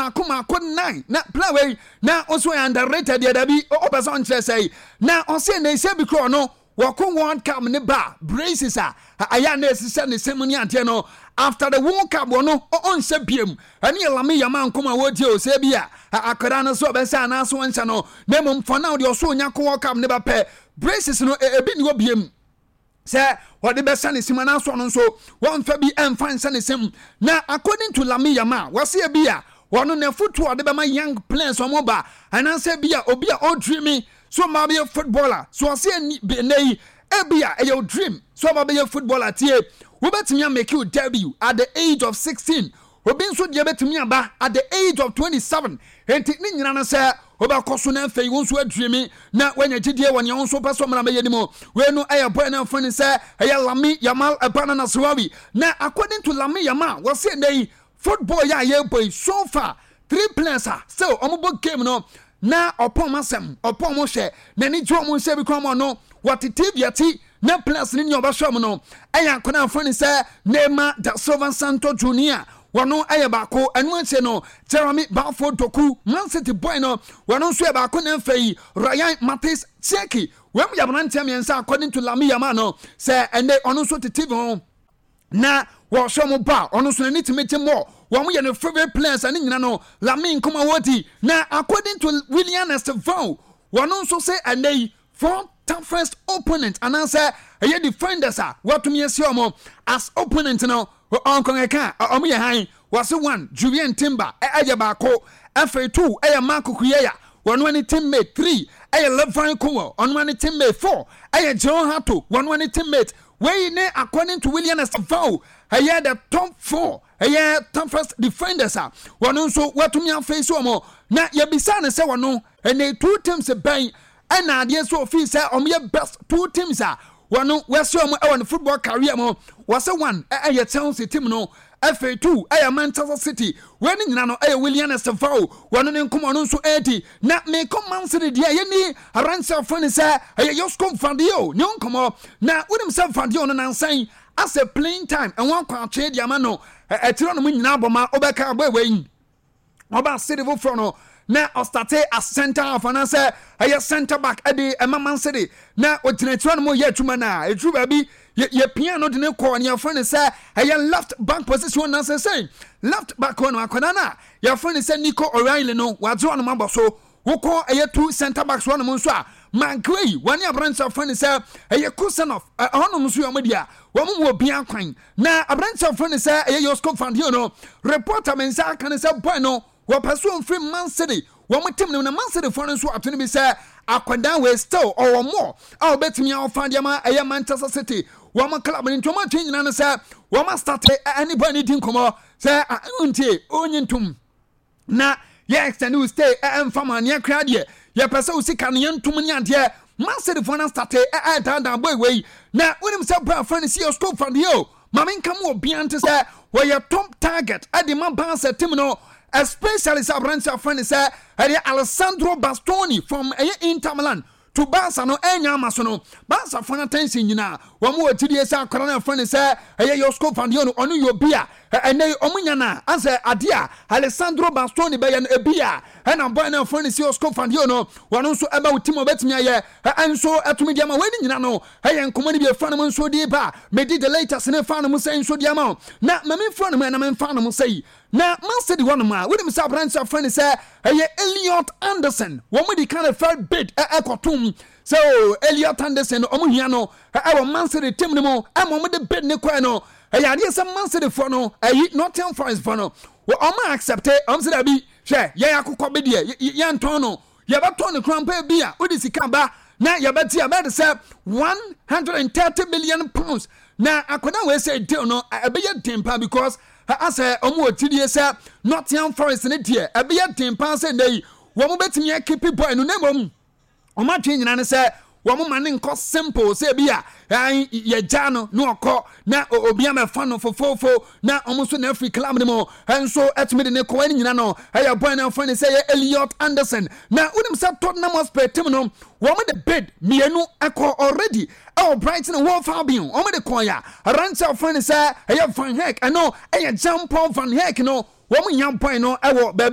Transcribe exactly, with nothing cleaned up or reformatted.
Maako maako nine na player wei na ɔso yɛ underrated deɛ, dabi, ɔpɛ sɛ ɔnkyerɛ sɛ na ɔsɛ na ɛsɛ bi korɔ no wɔkɔ World Cup ne ba braces a ɛyɛ a na ɛsisɛ ne sɛm ne adeɛ no. After the World Cup wɔ no ɔnhyɛ biem. Ɛne yɛ Lamine Yamal nkɔm a wɔtie o, sɛ bi a akwadaa no so ɔbɛsɛ anaasɛ ɔnhyɛ no, na mmom for now deɛ, ɔso onya kɔ World Cup ne ba pɛ, braces no ebi ni hɔ biem sɛ wɔde bɛhyɛ ne sim anaasɔ no nso wɔmfa bi ɛmfa nhyɛ ne sim. Na according to Lamine Yamal, wɔse bi a wɔno n'afotu a ɔde bɛma young players ɔmo ba anaasɛ bi a obi a ɔdream so ɔmo abɛyɛ footballer so, ɔse ɛnɛ yi ebi a ɛyɛ o dream so ɔmo abɛyɛ footballer, tie, wobɛtumi amake your debut at the age of sixteen, obi nso deɛ bɛtumi aba at the age of twenty-seven. Nti ne nyina no sɛ wobɛkɔ so no, afei wo nso adream na woanya gyidie wɔ nea wo nso pɛ sɛ ɔmmra bɛyɛ no mu. Wei no ɛyɛ boy no mfa ne sɛ ɛyɛ Lamine Yamal ɛba no Nasrawi. Na according to Lamine Yamal, wɔse ɛnɛ yi football yɛ a yɛbɔ yi, so far three players a still ɔmo bɔ game no na ɔpɔn asɛm ɔpɔn mo hwɛ n'ani gye ɔmo nhyɛ bi kwan mu no, wɔte T V akyi na players ne nea ɔbɛhwɛ ɔmo no ɛyɛ akɔnɔ afɔ ne sɛ Neymar da Silva Santo Junior, wɔno ɛyɛ baako. Ɛno akyi no, Jeremy Bafo Doku, Man City boy no, wɔno nso yɛ baako. Na mfɛ yi Rayan Mathis Cherki, wɔn mu yɛ aberanteɛ mmiɛnsa according to Lamine Yamal no sɛ ɛnɛ ɔno nso te T V ho na wɔhwɛ mo ba, ɔno nso n'ani tumi gye mɔ wɔn yɛ no favourite players. Ɛne nyina no Lamine nkɔmɔ wɔdi. Na according to William Estevao, wɔn nso sɛ ɛnɛ yi four toughest opponent anaasɛ ɛyɛ defenders a wɔatumi asi wɔn as opponent no, ɔnkɔnkɛka ɔmo yɛ han. Wɔse one, Julian Timber ɛyɛ baako. Afei two ɛyɛ Marc Cucurella, wɔn ani teammate. Three ɛyɛ Levi Colwill, ɔno ani teammate. Four ɛyɛ Jorrel Hato, wɔn ani teammate. Wei ne according to William Estevao, ɛyɛ the top four ɛyɛ toughest defenders a wɔn nso wɔatumi afei so wɔn. Na yɛbisa ne sɛ wɔn ɛnɛ two teams bɛn ɛna adeɛ so ofii sɛ wɔn yɛ best two teams a wɔn wɔasi wɔn ɛwɔ ne football career mu? Wɔsɛ one ɛyɛ Chelsea team no, afei two ɛyɛ Manchester City. Wɔn ne nyinaa no ɛyɛ William Estevao wɔn ne nkɔmɔ no nso ɛredi. Na mekɔ Man City deɛ, yɛni aberanteɛ afɔ ne sɛ ɛyɛ Josko Gvardiol ne nkɔmɔ. Na wonim sɛ Gvardiol no nansan asɛ playing time ɛho akɔ atwe de ama no ɛkyerɛ no mu nyinaa bɔ ma wobɛka abɔ ɛwɔ yi ɔba City foforɔ no na ɔstart as center half anaasɛ ɛyɛ center back ɛde ɛma Man City, na ogyina akyerɛ no mu yɛ adwuma no a ɛduru baabi yɛpia no de ne kɔɔ ne yɛfrɛ no sɛ ɛyɛ left back position. Anaasɛ sɛ left back hɔ no, akwadaa no a yɛfrɛ no sɛ Nico O'Reilly no wagye ɔnom abɔ so. Wokɔ ɛyɛ two center backs hɔnom nso a, Maguire wɔne aberanteɛ afrɛ no sɛ ɛyɛ Khusanov, ɛhɔnom nso yɛ ɔmo deɛ wɔn mu obi kwan. Na aberanteɛ afrɛ no sɛ ɛyɛ Josko Gvardiol no, reporter me nsa aka no sɛ boy no wɔpɛ so mfiri Man City wɔn team no, na Man City foɔ no nso ato no bi sɛ akwadaa wei still ɔwɔ mɔ a wɔbɛtumi afa deɛ ma ɛyɛ Manchester City wɔn club no. Nti wɔn atwe nyinaa no sɛ wɔn astart ɛne boy no di nkɔmɔ sɛ ntie onye ntom na yɛ extend wo stay ɛmfa ma neɛ kora deɛ yɛpɛ sɛ wo sika no yɛntom ne adeɛ. Man City foɔ no astart ɛdaadaa boy wei. Na wonim sɛ boy afrɛ no si Josko Gvardiol, maame nka mu obia nte sɛ wɔyɛ top target ɛde ma Barca team no, especially sɛ aberante afrɛ no sɛ ɛyɛ Alessandro Bastoni from ɛyɛ Inter Milan to Barca no ɛnya ama so no, Barca fo no attention nyinaa wɔn wɔ gyidie sɛ akwadaa no afrɛ no sɛ ɛyɛ Josko Gvardiol no, ɔno yɛ obi a ɛnɛ ɔmo nya no asɛ adeɛ a Alessandro Bastoni bɛyɛ no ebi a ɛna boy no afrɛ no sɛ Josko Gvardiol no, wɔn nso ɛbɛ wo team a ɔbɛtumi ayɛ ɛnso ɛtumi deɛ ma. Wɔn ani nyina no ɛyɛ nkɔmɔ no bi efa no mu nso de ba medi the latest ne fa no mu sɛ nso deɛ ma na mɛmi nfa no mu ɛna mɛmfa no mu sɛ yi. Na Man City hɔnom a, wonim sɛ aberante afrɛ no sɛ ɛyɛ Elliot Anderson, wɔn mu di kan fɛ bid ɛkɔtom sɛ o Elliot Anderson no ɔmo hia no ɛwɔ Man City team no mu. Ɛma ɔmo de bid ne kɔɛ no, ɛyɛ adeɛ sɛ Man City foɔ no ɛyi Nottingham Forest foɔ no ɔmo accept. Ɔmo sɛ dabi, hwɛ, yɛn akokɔ bi deɛ yɛntɔn no, yɛbɛtɔn no kora mpa bi a wode sika ba na yɛbɛte a bɛyɛ de sɛ one hundred and thirty million pounds. Na akwadaa wei sɛ deal no ɛbɛyɛ den pa because asɛ ɔmo wɔ gyidie sɛ Nottingham Forest ne deɛ ɛbɛyɛ den paa sɛ nnɛ yi wɔn bɛtumi akeep boy no, na mmom wɔn atwe nyinaa ne sɛ wɔn ma ne nkɔ simple sɛ ebi a yɛgya no na ɔkɔ na obi amɛfa no fofofo na wɔn nso na afiri club no mu nso ɛtumi de ne kɔ. Ɛne nyina no ɛyɛ boy no afɔ ne sɛ yɛ Elliot Anderson. Na wonim sɛ Tottenham Hotspur team no, wɔn de bid mmienu ɛkɔ already ɛwɔ Brighton Hove Albion. Wɔn de kɔɔ ya aberanteɛ afɔ ne sɛ ɛyɛ Van Hecke, ɛno ɛyɛ Jean Paul Van Hecke no, wɔn nya boy no ɛwɔ baabi a